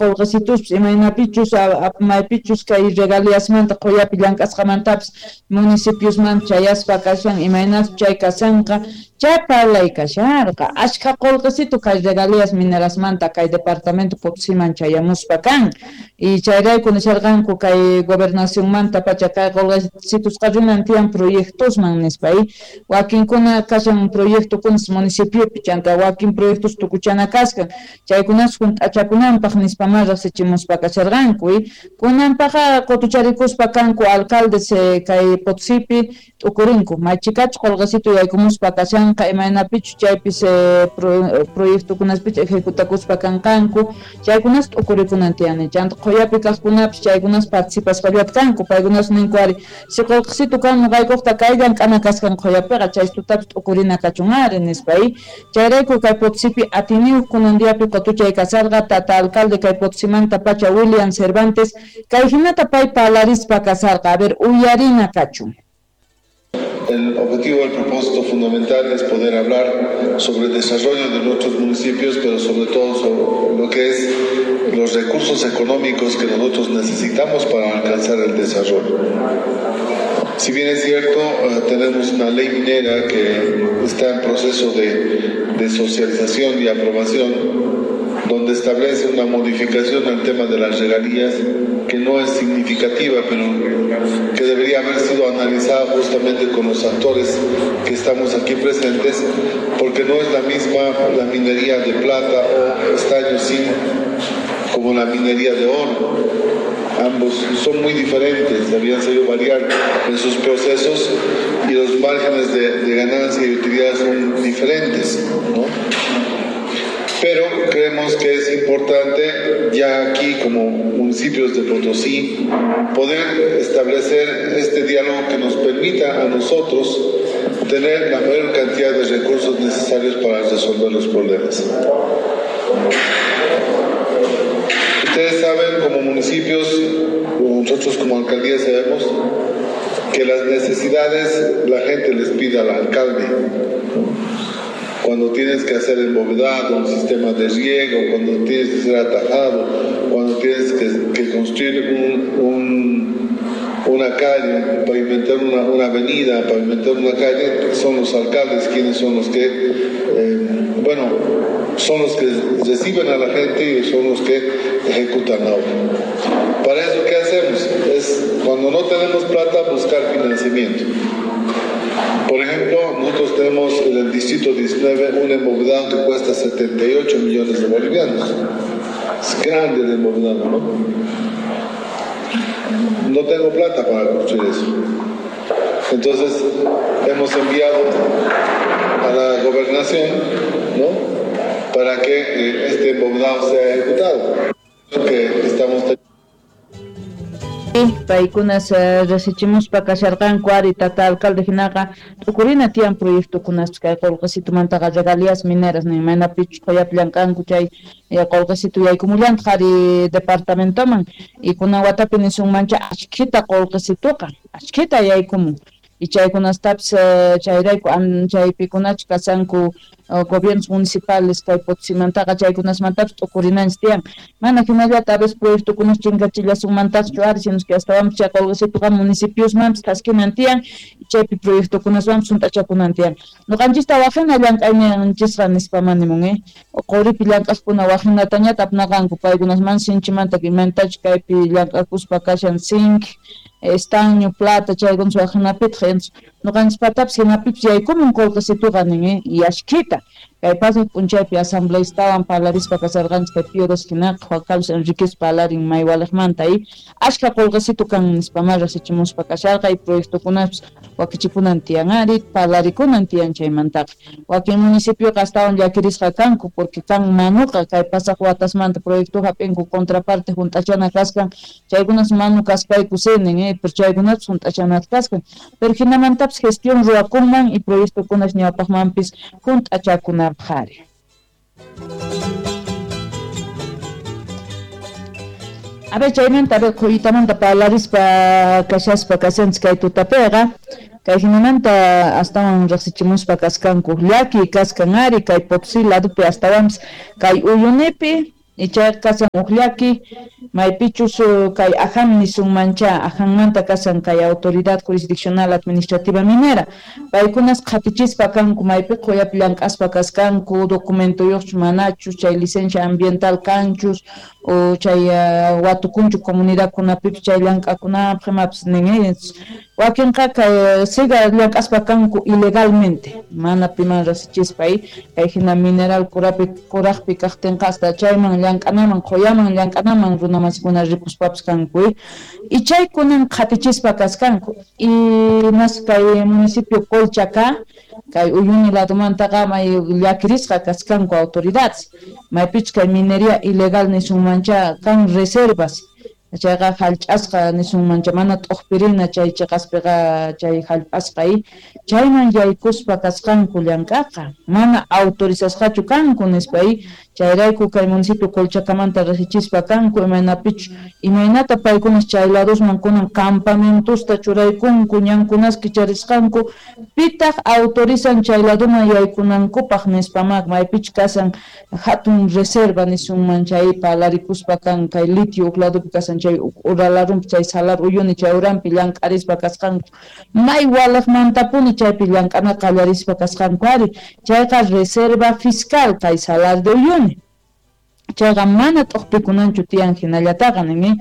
qolqesituspis imaynapichus maypichus kay regaliasmanta qoyapi llank'asqamantapis municipiosman chayaspa kashan imaynas chay kashanqa chay parlay kasharqa ashkha qolqesitu kay regalías minerasmanta kay departamento Potosiman chayamuspa kan y chayrayku nisharqanku kay gobernacionmanta pacha kay qolqesitusqa rinan tiyan proyectosman nispa y wakinkuna kashan proyectokunas municipiopi chanta wakin proyectos tukuchana kaskan chaykunas junt'achakunanpaq nispa ma riqsichimuspa kasharqanku y kunanpaqa qutucharikuspa kanku alcaldes kay Potosipi t'ukurinku maychikachu qolqesitu yaykumuspa kashanqa imaynapichu chaypis proyectokunaspichu ejecutakuspa kanqanku chaykunas t'ukurikunan tiyani chanta qhuyapi kaqkunapis chaykunas participasqallata kanku paykunas ninku ari si qolqesitu kan noqaykuqta kay llank'ana kaskan qhuyapiqa chaystutapis t'ukurina kachun ari nispa y chayrayku kay Potosipi atiniyuq kunan diapi qutuchay kasarqa tata alcalde kay Potosimanta pacha William Cervantes kay hinata pay parlarispa kasarqa a ver uyarina kachun. El objetivo, el propósito fundamental es poder hablar sobre el desarrollo de nuestros municipios, pero sobre todo sobre lo que es los recursos económicos que nosotros necesitamos para alcanzar el desarrollo. Si bien es cierto, tenemos una ley minera que está en proceso de socialización y aprobación, donde establece una modificación al tema de las regalías que no es significativa, pero que debería haber sido analizada justamente con los actores que estamos aquí presentes, porque no es la misma la minería de plata o estaño zinc como la minería de oro. Ambos son muy diferentes, habían sabido variar en sus procesos y los márgenes de ganancia y utilidad son diferentes, ¿no? Pero creemos que es importante ya aquí como municipios de Potosí poder establecer este diálogo que nos permita a nosotros tener la mayor cantidad de recursos necesarios para resolver los problemas. Ustedes saben, como municipios, nosotros como alcaldía sabemos que las necesidades la gente les pide al alcalde. Cuando tienes que hacer embovedado, un sistema de riego, cuando tienes que ser atajado, cuando tienes que construir una calle, pavimentar una avenida, pavimentar una calle, son los alcaldes quienes son los que, son los que reciben a la gente y son los que ejecutan la obra. Para eso, ¿qué hacemos? Es, cuando no tenemos plata, buscar financiamiento. Por ejemplo, nosotros tenemos en el distrito 19 un embovedado que cuesta 78 millones de bolivianos. Es grande el embovedado, ¿no? No tengo plata para construir eso. Entonces, hemos enviado a la gobernación, ¿no?, para que este embovedado sea ejecutado. Que estamos paykunas resichimuspa kasharqanku ari tata alcalde hinaqa t'ukurina tiyan proyectokunas kay qolqesitumantaqa regalías mineras nin maynapichus qoyapi llank'anku chay qolqesitu yaykumullantaq ari departamentoman y kunan watapi nisunmancha ashkhita qolqesituqa ashkhita yaykumun y chaykunastapis chayrayku chaypikunachu kasanku gobiernos municipales kay Potosimantaqa chaykunasmantapis t'ukurinanchis tiyan mana hinallata a veces proyectokunas chinkachillasunmantaqchu ari sino que astawanpis chay qolqesituqa municipiosmanpis thaskinan tiyan chaypi proyectokunaswanpis hunt'achakunan tiyan noqanchista waqhina llank'ayninchisqa nispa manimun quripi llank'aqkuna waqhinatañata apnaqanku paykunasman sinchimanta imantachu kaypi llank'akuspa kashan zinc estaño, plata, chaykunas waqhinapitaq noqanchispatapis hinapipis yaykumun qolqesituqa nin y ashkhita kay pasaq p'unchaypi asambleistawan parlarispa kasarqanchis kay Pío hinaqa Juan Carlos Enríquez parlarin maywaliqmanta y ashkha qolqesitu kan nispa ma riqsichimuspa kasharqa y proyectokunapis wakichikunan tiyan ari parlarikunan tiyan chaymantaqa wakin municipioqa astawan llakirisqa kanku porque kan manuqa kay pasaq watasmanta proyecto hap'inku contraparte hunt'achana kaskan chaykunas manu kaspayku sinin pero chaykunapis hunt'achanata kaskan pero hinamantapis gestión ruwakunman y proyectokunas ñawpaqmanpis hunt'achakunapaq ari. A ver, chaymanta, a ver, qhuyitamanta parlarispa kashaspa kashanchis kay tutapiqa kay hinamanta astawan riqsichimuspa kaskanku llaki kaskan ari kay Potosí ladopi astawanpis kay Uyunipi Chayqa kashan uj llaki maypichus kay AJAM nisunmancha AJAMmanta kashan kay Autoridad Jurisdiccional Administrativa Minera paykunas qhatichispa kanku maypi qhuyapi llank'aspa kaskanku documentoyuqchus manachus chay licencia ambiental kanchus o chay watukunchu comunidadkunapipis chay llank'akunapaq imapis nin wakinqa kay siga llank'aspa kanku ilegalmente mana piman riqsichispa kay hina mineral kurapi kuraqpi kaqtinqa hasta chayman llank'anaman qhuyaman llank'anaman runamasikuna ripuspapis kanku y chaykunan qhatichispa kaskanku y mas kay municipio Colchaca kay Uyuni ladomantaqa may llakirisqa kaskanku autoridades maypichus kay minería ilegal nisunmancha kan reservas chayqa hallch'asqa nisunmancha mana t'uqpirina chay chiqaspiqa chay hallp'asqa chayman yaykuspa kasqanku llank'aqa mana autorizasqachu kanku nispa chayrayku kay municipio Colchacamanta riqsichispa kanku imaynapichus imaynata paykunas chay ladosman kunan campamentosta churaykunku ñankunas kicharisqanku pitaq autorizan chay ladoman yaykunankupaq nispama maypichus kasan hatun reserva nisunman chay palarikuspa kan kay litio uq ladopi kasan chay uralarunpi chay salar Uyuni chay uranpi llank'arispa kasqanku may walaqmantapuni chaypi llank'ana qallarispa kasqanku ari chayqa reserva fiscal kay Salar de Uyuni chayqa mana t'uqpikunanchu tiyan hinallataqa nin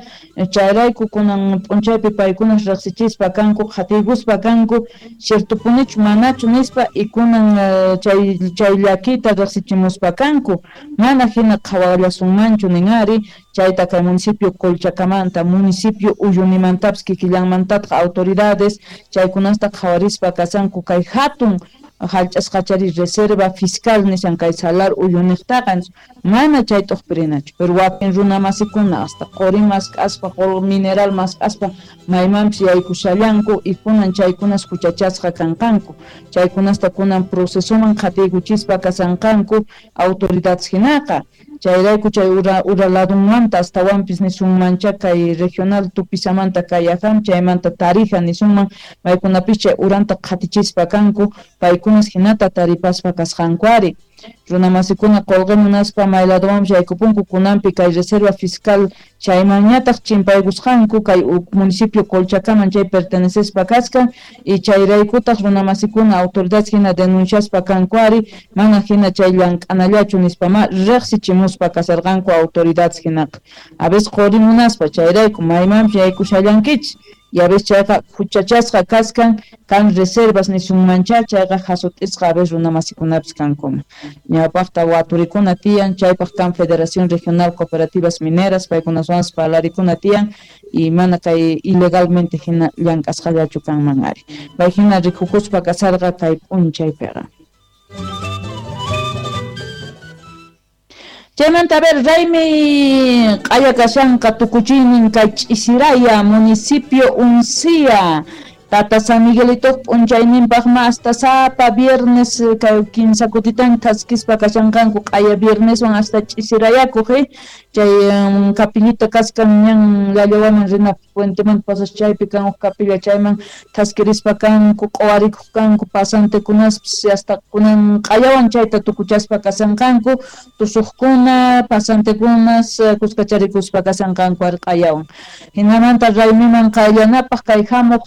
chayrayku kunan p'unchaypi paykunas riqsichispa kanku qhatiykuspa kanku ciertopunichu manachu nispa y kunan chay llakita riqsichimuspa kanku mana hina qhawallasunmanchu nin ari chayta kay municipio Colchacamanta municipio Uyunimantapis kikillanmantataq autoridades chaykunasta qhawarispa kasanku kay hatun hallch'asqachari reserva fiscal nishan kay Salar Uyuniqtaqa mana chay t'uqpirinachu pero wakin runamasikuna hasta quri mask'aspa mineral mask'aspa maymanpis yaykushallanku y kunan chaykunas huchachasqa kanqanku chaykunasta kunan procesoman qhatiykuchispa kasanqanku autoridades hinaqa chayrayku chay ura ladunmanta astawanpis nisunmancha kay regional Tupisamanta kay AJAM chaymanta Tarija nisunman maykunapis chay uranta qhatichispa kanku paykunas hinata taripaspa kasqanku ari runamasikuna qolqe munaspa may ladowanpis yaykupunku kunanpi kay reserva fiscal chaymanñataq chimpaykusqanku kay municipio Colchacaman chay pertenecespa kaskan y chayraykutaq runamasikuna autoridades hina denunciaspa kanku ari mana hina chay llank'anallachu nispama riqsichimuspa kasarqanku autoridades hinaqa a veces qori munaspa chayrayku maymanpis yaykushallankichis y a veces chayqa huchachasqa kaskan kan reservas nisunmancha chayqa hasut'isqa a veces runamasikunapis kankuma ñawpaqta waturikuna tiyan chaypaq kan Federación Regional Cooperativas Mineras paykunaswanpas parlarikuna tiyan y mana kay ilegalmente hina llank'asqallachu kanman ari pay hina rikukuspa kasarqa kay p'unchaypiqa. Chaymanta a ver raymi q'aya kashanqa tukuchiynin kay Ch'isiraya municipio Uncía Tata San Miguelito p'unchayninpaq ma hasta sapa viernes kay kinsa kutitan thaskispa kashanqanku q'aya vierneswan hasta ch'isirayakuq chay capillita kaskan ñan Llallawaman rina puenteman pasas chaypi kan uj capilla chayman thaskirispa kanku q'uwarikuq kanku pasantekunaspis hasta kunan q'ayawan chayta tukuchaspa kasanqanku tusuqkuna pasantekunas kuskacharikuspa kasanqanku ari q'ayawan hinamanta raymiman qayllanapaq kay hamuq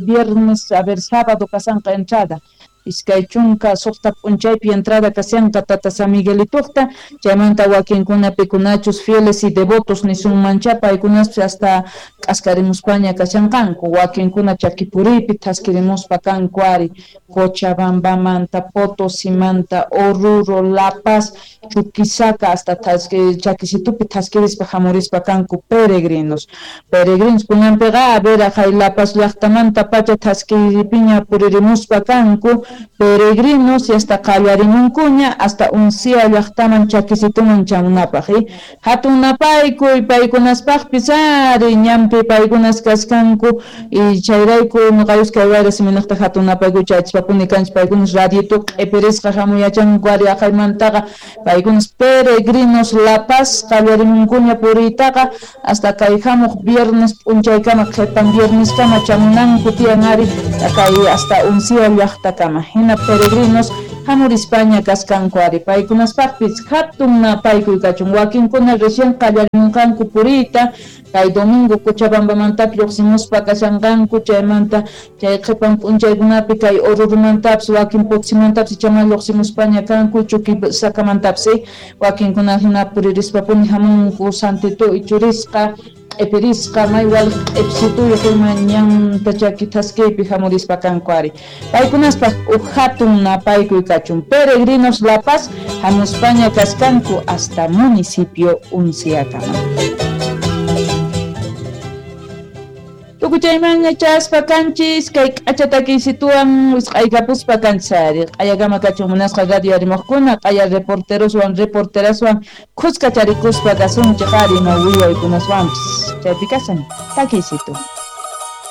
viernes, a ver, sábado kasanqa entrada iskay chunka suqta p'unchaypi entrada kashanqa Tata San Miguelituqta chaymanta wakinkuna pikunachus fieles y devotos nisunmancha paykunaspis hasta k'askarimuspaña kashanqanku wakinkuna chakipuriypi thaskirimuspa kanku ari Cochabambamanta Potosimanta Oruro La Paz Chuquisaca hasta chakisitupi thaskirispa hamurispa kanku peregrinos kunanpiqa a ver aqhay La Paz llaqtamanta pacha thaskiripiña puririmuspa kanku peregrinos y hasta qallarimunkuña hasta Uncía llaqtaman chakisituman chamunapaq hatun napaykuy paykunaspaqpis ari ñanpi paykunas kaskanku y chayrayku nuqayus kay wayra siminaqta hatun napaykuy chaychispapuni kanchis paykunas radiotu q'ipirisqa hamuyachanku ari aqhaymantaqa paykunas peregrinos La Paz qallarimunkuña puriytaqa hasta kay hamuq viernes p'unchaykama qhipan vierneskama chamunanku tiyan ari kay hasta Uncía llaqtakama hina peregrinos Hamurispaña kaskanku ari paykunaspaqpis hatun napaykuy kachun wakinkuna recién qallarimunqanku puriyta kay domingo Cochabambamantapis lluqsimuspa kashanqanku chaymanta chay qhipan p'unchaykunapi kay Orurumantapis wakin Potosimantapas ichaman lluqsimuspaña kanku Chuquisacamantapas wakinkuna hina puririspapuni hamunku Santito ichurisqa q'ipirisqa may waliq q'ipsituyuq ima ñanta chaki thaskiypi hamurispa kanku ari paykunaspaq uj hatun napaykuy kachun Peregrinos La Paz hamuspaña kaskanku hasta municipio Unciakama. Tukuchaymanña chaspa kanchis kay k'acha takiysituwan wisq'aykapuspa kanchis ari q'ayakama kachun munasqa radio arimuqkuna q'aya reporteroswan reporteraswan khuska charikuspa kasunchik ari ima willaykunaswanpis chaypi kasan takiysitu.